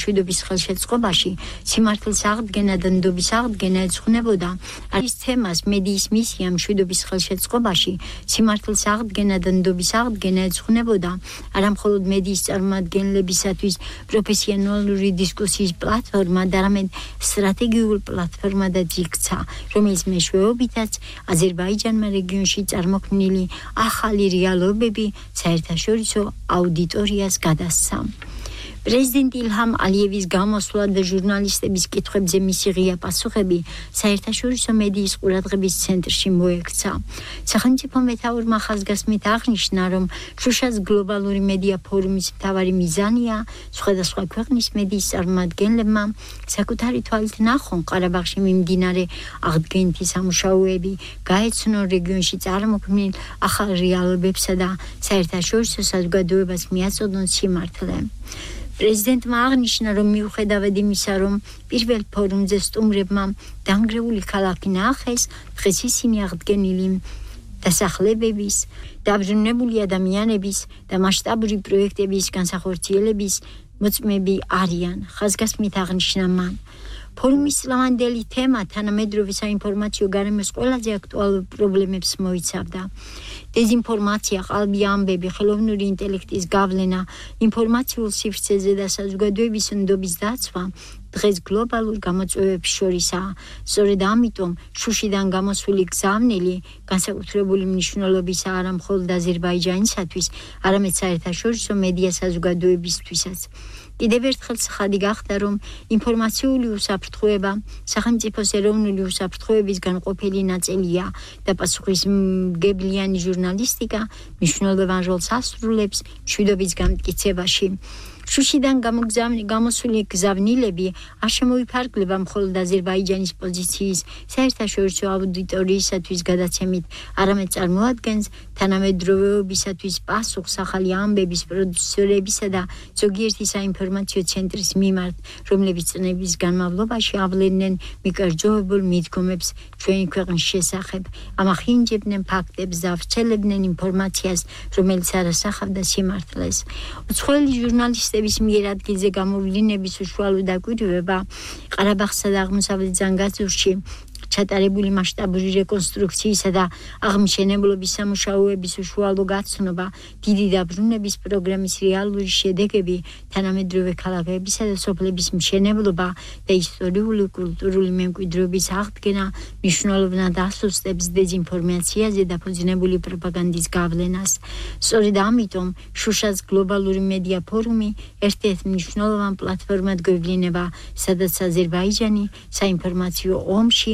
მშვიდობის ხელშეწყობაში სიმართლის აღდგენა და ნდობის აღდგენა ეძღვნებოდა. არის თემას მედიის მისია მშვიდობის ხელშეწყობაში სიმართლის აღდგენა და ნდობის აღდგენა ეძღვნებოდა. არა მხოლოდ მედიის წარმომადგენლებისათვის პროფესიონალური დისკუსიის პლატფორმა, არამედ სტრატეგიული პლატფორმადაც იქცა, რომელიც მეშვეობითაც აზერბაიჯანმა რეგიონში წარმოქმნილი ახალი რეალობები საერთაშორისო აუდიტორიას გადასცა. პრეზიდენტ ილჰამ ალიევის გამოსვლა და ჟურნალისტების კითხვებზე მისი ღია პასუხები საერთაშორისო მედიის ყურადღების ცენტრში მოექცა. სახელმწიფო მეთაურმა ხაზგასმით აღნიშნა, რომ შუშას გლობალური მედია ფორუმის მთავარი მიზანია სხვადასხვა ქვეყნის მედიის წარმომადგენლებმა საკუთარი თვალით ნახონ ყარაბაღში მიმდინარე აღდგენითი სამუშაოები, გაეცნონ რეგიონში წარმოქმნილ ახალ რეალობებსა და საერთაშორისო საზოგადოებას მიაწოდონ სიმართლე. პრეზიდენტმა აღნიშნა, რომ მიუხედავად იმისა, რომ პირველ ფორუმზე სტუმრებმა დანგრეული ქალაქი ნაახეს, დღეს ისინი აღდგენილი დასახლებების, დაბრუნებული ადამიანების და მასშტაბური პროექტების განსახორციელების მოწმეები არიან. ხაზგასმით აღნიშნა მან. ფორუმის ლამანდელი თემა თანამედროვე საინფორმაციო გარემოს ყველაზე აქტუალურ პრობლემებს მოიცავდა. დეზინფორმაცია, ყალბი ამბები, ხელოვნური ინტელექტის გავლენა, ინფორმაციულ სივრცეზე და საზოგადოების ნდობის დაცვა დღეს გლობალურ გამოწვევებს შორისაა. სწორედ ამიტომ შუშიდან გამოსული გზავნილი განსაკუთრებული მნიშვნელობისაა არა მხოლოდ აზერბაიჯანისათვის, არამედ საერთაშორისო მედია საზოგადოებისთვისაც. კიდევ ერთხელ ცხადი გახდა, რომ ინფორმაციული უსაფრთხოება სახელმწიფოს ეროვნული უსაფრთხოების განყოფილი ნაწილია და პასუხისმგებლიანი ჟურნალისტიკა მნიშვნელოვან როლს ასრულებს მშვიდობის გამტკიცებაში. შუშიდან გამოსული გზავნილები არ შემოიფარგლება მხოლოდ აზერბაიჯანის პოზიციის საერთაშორისო აუდიტორიისათვის გადაცემით, არამედ წარმოადგენს თანამედროვეობისათვის პასუხს ახალი ამბების პროდიუსერებისა და ზოგიერთი საინფორმაციო ცენტრის მიმართ, რომლებიც წლების განმავლობაში ავლენდნენ მიკერძოებულ მიდგომებს ჩვენი ქვეყნის შესახებ, ამახინჯებდნენ ფაქტებს და ავრცელებდნენ ინფორმაციას, რომელიც არ ასახავდა სიმართლეს. უცხოელი ჟურნალისტები მიერ ადგილზე გამოვლინების უშუალო დაკვირვება ყარაბაღსა და აღმოსავლეთ ზანგაზურში ჩატარებული მასშტაბური რეკონსტრუქციისა და აღმშენებლობის სამუშაოების უშუალო გაცნობა, დიდი დაბრუნების პროგრამის რეალური შედეგები, თანამედროვე ქალაქებისა და სოფლების მშენებლობა და ისტორიული კულტურული მემკვიდრეობის აღდგენა მნიშვნელოვნად ასუსტებს დეზინფორმაციაზე დაფუძნებული პროპაგანდის გავლენას. სწორედ ამიტომ შუშას გლობალური მედია ფორუმი ერთ-ერთ მნიშვნელოვან პლატფორმად გვევლინება, სადაც აზერბაიჯანი საინფორმაციო ომში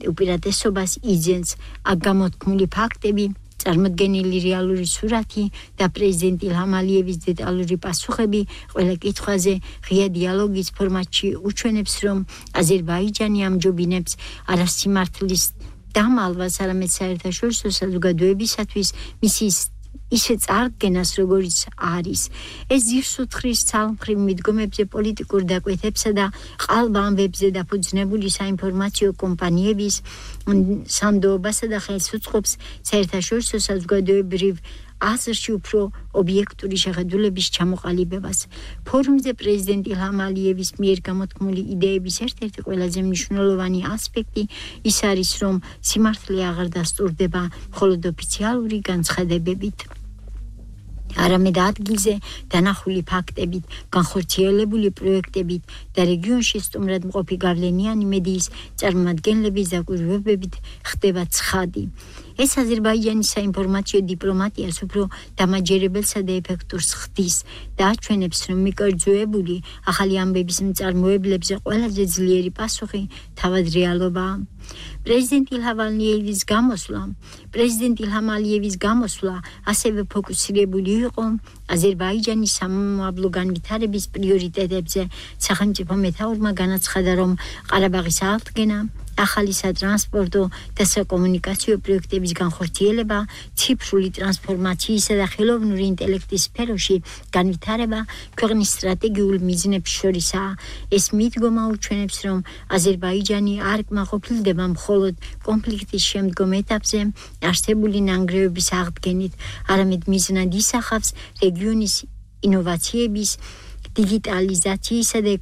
უპირატესობას იძენს. აქ გამოთქმული ფაქტები, წარმოდგენილი რეალური სურათი და პრეზიდენტ ილჰამ ალიევის დეტალური პასუხები ყველა კითხვაზე ღია დიალოგის ფორმატში უჩვენებს, რომ აზერბაიჯანი ამჯობინებს არა სიმართლის დამალვას, არამედ საერთაშორისო საზოგადოებისათვის მისი ისე წარდგენას, როგორც არის. ეს ძირს უთხრის ცალმხრივ მიდგომებზე, პოლიტიკურ დაკვეთებსა და ყალბ-ამბებზე დაფუძნებული საინფორმაციო კომპანიების სანდოობასა და ხელს უწყობს საერთაშორისო საზოგადოებრივ აზრში უფრო ობიექტური შეხედულების ჩამოყალიბებას. ფორუმზე პრეზიდენტ ილჰამ ალიევის მიერ გამოთქმული იდეების ერთ-ერთი ყველაზე მნიშვნელოვანი ასპექტი ის არის, რომ სიმართლე აღარ დასტურდება მხოლოდ ოფიციალური განცხადებებით, არამედ ადგილზე დანახული ფაქტებით, განხორციელებული პროექტებით და რეგიონში სტუმრად მყოფი გავლენიანი მედიის წარმომადგენლების დაკვირვებებით ხდება ცხადი. ეს აზერბაიჯანის საინფორმაციო დიპლომატიას უფრო დამაჯერებელსა და ეფექტურს ხდის და აჩვენებს, რომ მიკერძოებული ახალი ამბების მწარმოებლებზე ყველაზე ძლიერი პასუხი თავად რეალობაა. პრეზიდენტ ილჰამ ალიევის გამოსვლა ასევე ფოკუსირებული იყო აზერბაიჯანის სამომავლო განვითარების პრიორიტეტებზე. სახელმწიფო მეთაურმა განაცხადა, რომ ყარაბაღის აღდგენა, ახალი სატრანსპორტო და საკომუნიკაციო პროექტების განხორციელება, ციფრული ტრანსფორმაციისა და ხელოვნური ინტელექტის სფეროში განვითარება ქვეყნის სტრატეგიულ მიზნებს შორისაა. ეს მიდგომა უჩვენებს, რომ აზერბაიჯანი არ კმაყოფილდება მხოლოდ კონფლიქტის შემდგომ ეტაპზე არსებული ნანგრევების აღდგენით, არამედ მიზნად ისახავს რეგიონის ინოვაციების, დიგიტალიზაციისა და